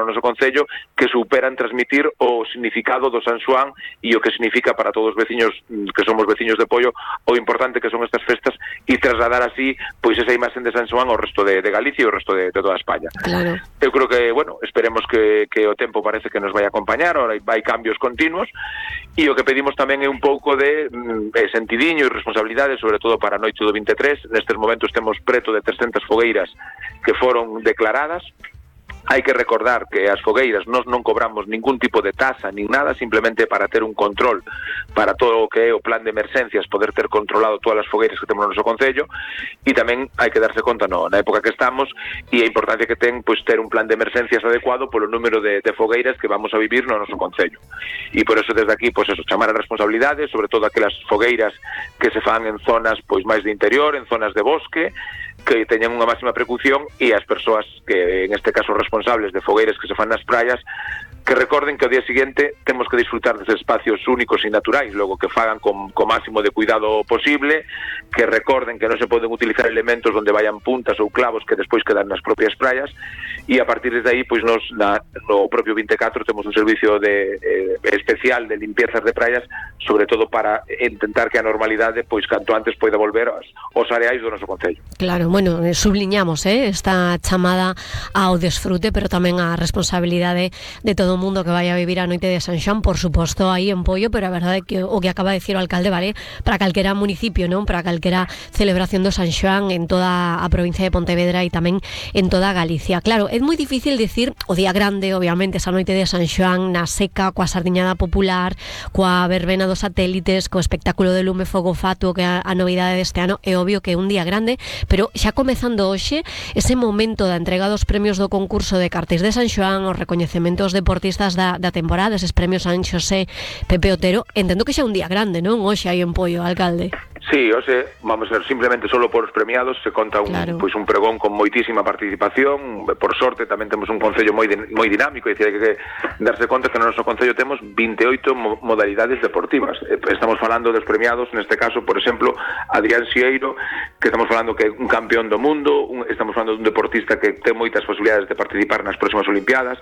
no noso concello que superan transmitir o significado do San Xoán e o que significa para todos os veciños que somos veciños de Poio o importante que son estas festas e trasladar así pois esa imaxen de San Xoán ao resto de Galicia e ao resto de toda España. Claro. Eu creo que, bueno, esperemos que o tempo parece que nos vai acompañar, ahora vai cambios continuos e o que pedimos tamén é un pouco de sentidiño e responsabilidade, sobre todo para a noite do 23. Nestes momentos temos preto de 300 fogueiras que foron declaradas. Hai que recordar que as fogueiras nós non cobramos ningún tipo de tasa nin nada, simplemente para ter un control para todo o que é o plan de emerxencias, poder ter controlado todas as fogueiras que temos no noso concello, e tamén hai que darse conta na época que estamos e a importancia que ten pois ter un plan de emerxencias adecuado polo número de fogueiras que vamos a vivir no noso concello. E por eso desde aquí pois eso, chamar a responsabilidade, sobre todo aquelas fogueiras que se fan en zonas pois máis de interior, en zonas de bosque, que teñan unha máxima precaución, e as persoas que en este caso responsables de fogueiras que se fan nas praias que recorden que ao día seguinte temos que disfrutar deses espacios únicos e naturais, logo que fagan con máximo de cuidado posible, que recorden que non se poden utilizar elementos onde vayan puntas ou clavos que despois quedan nas propias praias, e a partir de aí, pois nos no propio 24 temos un servicio especial de limpiezas de praias, sobre todo para intentar que a normalidade, pois canto antes poida volver aos areais do noso concello. Claro, bueno, subliñamos esta chamada ao desfrute, pero tamén a responsabilidade de todo o mundo que vai a vivir a noite de San Xoán, por suposto, aí en Poio, pero a verdade é que o que acaba de decir o alcalde vale para calquera municipio, non? Para calquera celebración do San Xoán en toda a provincia de Pontevedra e tamén en toda Galicia. Claro, é moi difícil decir o día grande, obviamente, esa noite de San Xoán na seca, coa sardiñada popular, coa verbena dos satélites, co espectáculo de lume fogo fatuo, que é a novidade deste ano. É obvio que é un día grande, pero xa comezando hoxe, ese momento da entrega dos premios do concurso de cartéis de San Xoán, os recoñecementos deportistas da temporada, eses premios San Xosé, Pepe Otero, entendo que xa é un día grande, non? Hoxe aí en Poio, alcalde. Sí, hoxe, vamos a ver, simplemente solo por os premiados se conta un pregón con moitísima participación. Por sorte tamén temos un concello moi dinámico, é dicir, hai que darse conta que no noso concello temos 28 modalidades deportivas. Estamos falando dos premiados, neste caso, por exemplo, Adrián Xieiro, que estamos falando que é un campeón do mundo, estamos falando dun deportista que ten moitas posibilidades de participar nas próximas Olimpiadas.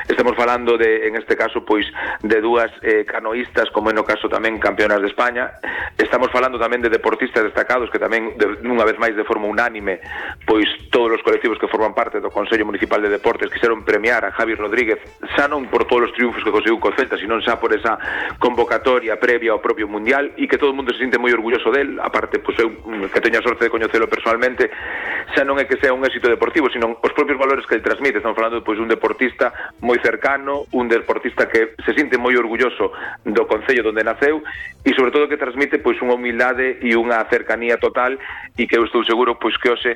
Estamos falando en este caso, pois, de dúas canoístas, como é no caso tamén campeonas de España. Estamos falando tamén de deportistas destacados que tamén, unha vez máis de forma unánime, pois todos os colectivos que forman parte do Consello Municipal de Deportes quixeron premiar a Javi Rodríguez, xa non por todos os triunfos que conseguiu co Celta, sino xa por esa convocatoria previa ao propio Mundial, e que todo o mundo se sinte moi orgulloso del. Aparte, pois eu que teño a sorte de coñecelo personalmente, xa non é que sea un éxito deportivo, sino os propios valores que ele transmite. Estamos falando pois un deportista moi cercano, un deportista que se sinte moi orgulloso do concello onde naceu, e sobre todo que transmite pois unha humildade e unha cercanía total, e que eu estou seguro pois que hoxe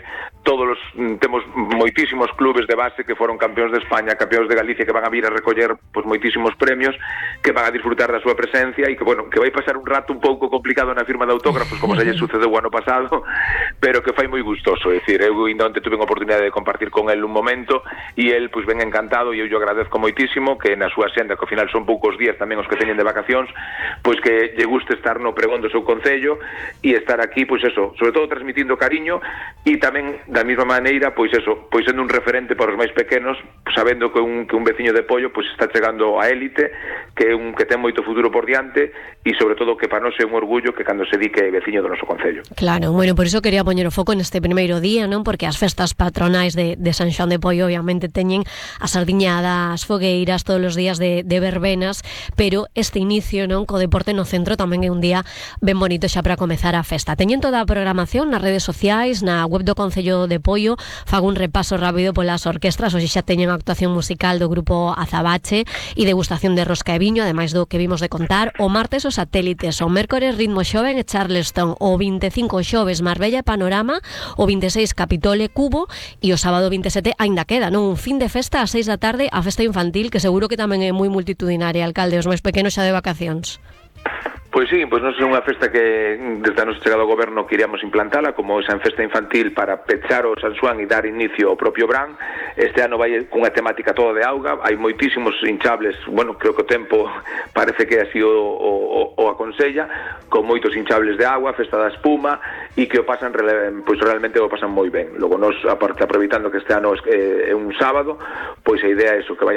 temos moitísimos clubes de base que foron campeóns de España, campeóns de Galicia, que van a vir a recoller pois moitísimos premios, que van a disfrutar da súa presencia, e que, bueno, que vai pasar un rato un pouco complicado na firma de autógrafos, como se lle sucedeu o ano pasado, pero que fai moi gustoso. É dicir, eu onte tuve a oportunidade de compartir con el un momento, e el pois ven encantado, e eu lle agradezco moitísimo que na súa senda, que ao final son poucos días tamén os que teñen de vacacións, pois que lle guste estar no pregón do seu concello e estar aquí, pois eso, sobre todo transmitindo cariño, e tamén da mesma maneira, pois eso, pois sendo un referente para os máis pequenos, sabendo que un veciño de Poio pois está chegando a élite, que ten moito futuro por diante, e sobre todo que para nós é un orgullo que cando se di que é veciño do noso concello. Claro, bueno, por iso quería poñer o foco neste primeiro día, non? Porque as festas patronais de San Xoán de Poio obviamente teñen a sardiñada, as fogueiras, todos os días de verbenas, pero este inicio, non, co deporte no centro tamén é un día ben bonito xa para comezar a festa. Teñen toda a programación nas redes sociais, na web do Concello de Poio. Fago un repaso rápido polas orquestras. Hoxe xa teñen a actuación musical do grupo Azabache e degustación de rosca e viño, ademais do que vimos de contar. O martes os satélites, o mércores Ritmo Xoven e Charleston, o 25 xoves Marbella e Panorama, o 26 Capitole Cubo, e o sábado 27 aínda queda, non? Un fin de festa ás 6 da tarde, a festa infantil, que seguro que tamén é moi multitudinaria, alcalde, os máis pequenos xa de vacacións. Pois sí, pois non é unha festa que desde a nosa chegada ao goberno queríamos implantala como esa festa infantil para pechar o San Xoán e dar inicio ao propio Brán. Este ano vai cunha temática toda de auga, hai moitísimos hinchables, bueno, creo que o tempo parece que así o aconsella, con moitos hinchables de agua, festa da espuma, e que o pasan, pois realmente o pasan moi ben. Logo nos, aparte, aproveitando que este ano é un sábado, pois a idea é eso, que vayan